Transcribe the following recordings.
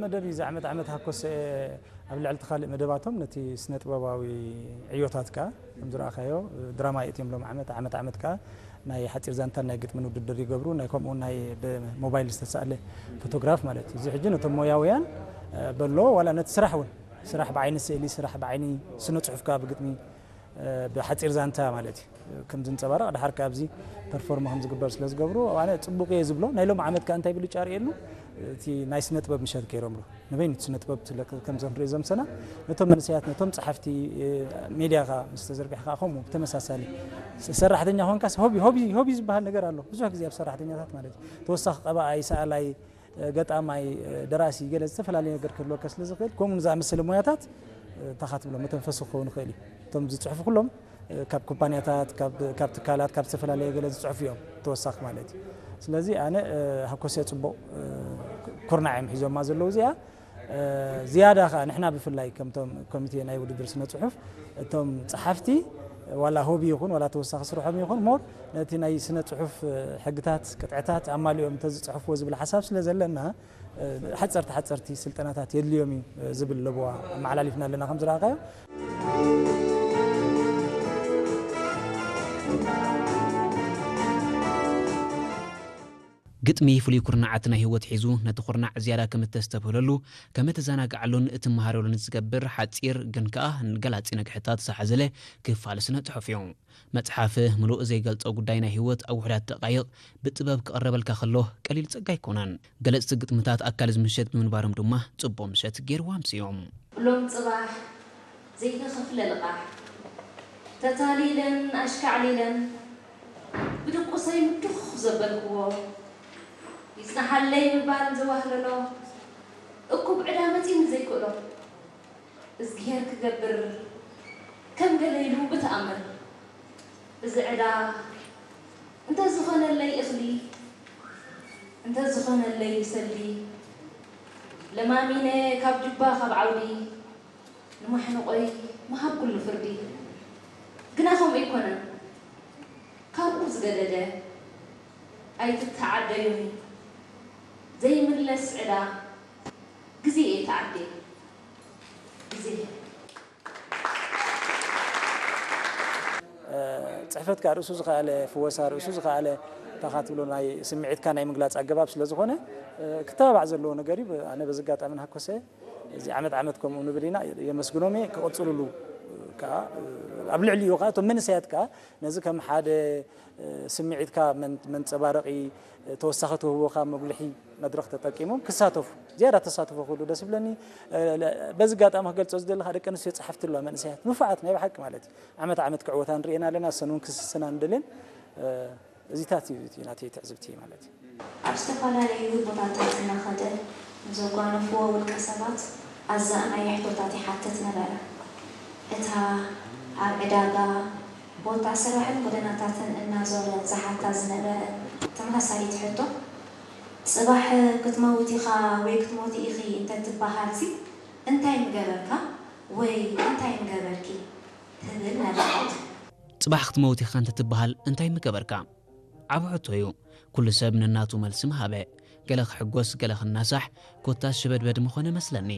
መደብ እዩ። እዚ ዓመት ዓመት ሃኮሰ ኣብ ልዕሊ እቲ ካልእ መደባቶም ነቲ ስነ ጥበባዊ ዕዮታት ከኣ ከም ዝረኣኻዮ ድራማ የእትዮም ሎም ዓመት ዓመት ዓመት ከኣ ናይ ሓጺር ዛንታን ናይ ግጥምን ውድድር ይገብሩ። ናይ ከምኡ ናይ ብሞባይል ዝተሳእለ ፎቶግራፍ ማለት እዩ። እዚ ሕጂ ነቶም ሞያውያን በሎ ዋላ ነቲ ስራሕ እውን ስራሕ ብዓይኒ ስእሊ፣ ስራሕ ብዓይኒ ስነ ጽሑፍ ከኣ ብግጥሚ ብሓጺር ዛንታ ማለት እዩ ከም ዝንጸባረቕ ድሓር ከኣ ኣብዚ ፐርፎርም ከም ዝግበር ስለ ዝገብሩ ኣነ ጽቡቕ እየ ዝብሎ። ናይ ሎም ዓመት ከኣ እንታይ ብልጫ ርእየሉ እቲ ናይ ስነ ጥበብ ምሸት ገይሮምሉ ንበይኑ እቲ ስነ ጥበብ ትለቅ ከም ዘንሪኦ ዘምሰና ነቶም መንእሰያት ነቶም ጸሓፍቲ ሜድያ ከኣ ምስ ተዘርግሕ ከኣ ከምኡ ብተመሳሳሊ ሰራሕተኛ ኾንካስ ሆቢ ሆቢ ሆቢ ዝበሃል ነገር ኣሎ ብዙሕ ግዜ ኣብ ሰራሕተኛታት ማለት እዩ ተወሳኺ ቀባኣይ ሰኣላይ ገጣማይ ደራሲ ገለ ዝተፈላለየ ነገር ክህልወካ ስለ ዝኽእል ከምኡ ዝኣመሰለ ሞያታት እንታይ ትብሎ መተንፈሲ ክኸውን ይኽእል እዩ እቶም ዝፅሕፉ ኩሎም ካብ ኩባንያታት ካብ ትካላት ካብ ዝተፈላለየ ገለ ዝፅሕፉ እዮም ተወሳኺ ማለት እዩ ስለዚ ኣነ ሃኮስያ ፅቡቕ ኩርናዕ እዮም ሒዞማ ዘለዉ እዚኣ ዝያዳ ከዓ ንሕና ብፍላይ ከምቶም ኮሚቴ ናይ ውድድር ስነ ፅሑፍ እቶም ፀሓፍቲ ዋላ ሆቢ ይኹን ዋላ ተወሳኺ ስርሖም ይኹን ሞር ነቲ ናይ ስነ ፅሑፍ ሕግታት ቅጥዕታት ኣማሊኦም እንተዝፅሕፍዎ ዝብል ሓሳብ ስለ ዘለና ሓፀርቲ ሓፀርቲ ስልጠናታት የድልዮም እዩ ዝብል ለበዋ ኣመሓላሊፍና ኣለና ከም ዝረኣኻዮ ግጥሚ ፍሉይ ኩርናዓት ናይ ህይወት ሒዙ ነቲ ኩርናዕ ዝያዳ ከም እተስተብህለሉ ከም እተዘናግዓሉን እትመሃረሉን ዝገብር ሓጺር ግን ከኣ ገላጺ ነግሕታት ዝሓዘለ ክፋል ስነ ጽሑፍ እዩ። መጽሓፍ ምሉእ ዘይገልጾ ጉዳይ ናይ ህይወት ኣብ ውሑዳት ደቃይቕ ብጥበብ ክቕረበልካ ከሎ ቀሊል ጸጋ ኣይኮነን። ገለጽቲ ግጥምታት ኣካል እዚ ምሸት ብምንባሮም ድማ ጽቡቕ ምሸት ገይርዎ ኣምስዮም። ሎም ጽባሕ ዘይተኸፍለ ልቓሕ ተታሊለን ኣሽካዕሊለን ብድቁሰይ ምዱኽ ዘበልክዎ ይጽናሓለይ ምባል ዘዋህለሎ እኩብ ዕዳ መጺኒ ዘይክእሎ እዝግሄር ክገብር ከም ገለ ኢሉ ብተኣምር እዚ ዕዳ እንተዝኾነለይ እኽሊ እንተዝኾነለይ ሰልዲ ለማሚነ ካብ ጁባ ካብ ዓውዲ ንማሕንቖይ ምሃብ ኩሉ ፍርዲ ግና ከምኡ ኣይኮነን ካብኡ ዝገደደ ኣይትተዓደዮን እዩ ዘይምለስ ዕዳ ግዜ እየ ተዓድየ ግዜ ፅሕፈት ከዓ ርእሱ ዝኸኣለ ፍወሳ ርእሱ ዝኸኣለ ታኻ ትብሎ ናይ ስምዒትካ ናይ ምግላፅ ኣገባብ ስለ ዝኾነ ክተባባዕ ዘለዎ ነገር እዩ ኣነ በዚ ኣጋጣሚ ንሃኮሰ እዚ ዓመት ዓመት ከምኡ ንብል ኢና የመስግኖም እየ ክቕፅልሉ ከዓ ኣብ ልዕሊኡ ከዓ እቶም መንእሰያት ከዓ ነዚ ከም ሓደ ስምዒትካ መንፀባረቒ ተወሳኺ ትህቦ ካብ መጉልሒ መድረኽ ተጠቂሞም ክሳተፉ ዝያዳ ተሳትፎ ክህሉ ደስ ይብለኒ። በዚ ኣጋጣሚ ክገልፆ ዝደሊ ከዓ ደቂ ኣንስትዮ ፀሓፍቲ ኣለዋ መንእሰያት ንፉዓት ናይ ብሓቂ ማለት እዩ ዓመት ዓመት ክዕወታ ንሪኤን ኣለና እሰን እውን ክስስና ንደልየን እዚታት እዩ እቲ ናተይ ትዕዝብቲ ማለት እዩ። ኣብ ዝተፈላለዩ ቦታታት እናኸደ ንዘጓነፍዎ ውልቀ ሰባት ኣዛእናይ ሕቶታት ይሓትት ነበረ። እታ ኣብ ዕዳጋ፣ ቦታ ስራሕን ጎደናታትን እናዞረ ዝሓታ ዝነበረ ተመሳሳሊት ሕቶ፣ ጽባሕ ክትመውት ኢኻ ወይ ክትሞቲ ኢኺ እንተትበሃልሲ እንታይ ምገበርካ ወይ እንታይ ምገበርኪ? ትብል ነበረት። ጽባሕ ክትመውት ኢኻ እንተትበሃል እንታይ ምገበርካ? ዓቢ ሕቶ እዩ። ኩሉ ሰብ ነናቱ መልሲ ምሃበ። ገለ ክሕጎስ፣ ገለ ክናሳሕ፣ ኮታስ ሽበድበድ ምኾነ መስለኒ።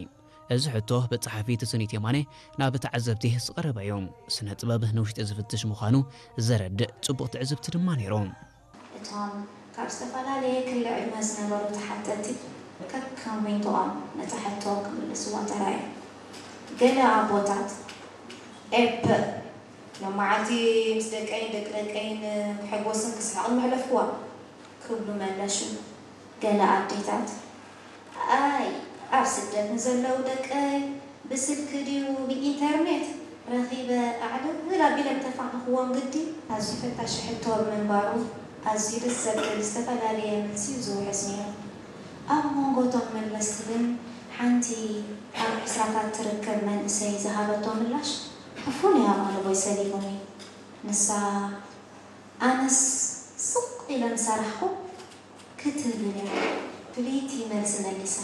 እዚ ሕቶ ብጸሓፊ ትስኒት የማነ ናብ ተዓዘብቲ ዝቐረበ እዩ። ስነ ጥበብ ንውሽጢ ዝፍትሽ ምዃኑ ዘረድእ ጽቡቕ ትዕዝብቲ ድማ ነይሩ። እቶም ካብ ዝተፈላለየ ክሊ ዕድመ ዝነበሩ ተሓተትቲ ከከም ዊንቶኦም ነታ ሕቶ ክምልስዋ ተራእዮም። ገለ ኣቦታት ኤፕእ ሎም መዓልቲ ምስ ደቀይን ደቂ ደቀይን ክሕጎስን ክስሕቕን መሕለፍክዋ ክብሉ መለሹ። ገለ ኣዴታት ኣይ ኣብ ስደት ንዘለዉ ደቀይ ብስልኪ ድዩ ብኢንተርኔት ረኺበ ኣዕልል ኣቢለ ምተፋነኽዎም ግዲ? ኣዝዩ ፈታሺ ሕቶ ብምንባሩ ኣዝዩ ደስ ዘብል ዝተፈላለየ መልሲ እዩ ዝውሕዝ ነይሩ። ኣብ መንጎ እቶም መለስቲ ግን ሓንቲ ኣብ ዕስራታት ትርከብ መንእሰይ ዝሃበቶ ምላሽ ፍሉይ ኣቓልቦ እዩ ሰሊቡኒ። ንሳ ኣነስ ስቕ ኢለ ምሰራሕኹ ክትብል እያ ፍልይቲ መልሲ መሊሳ።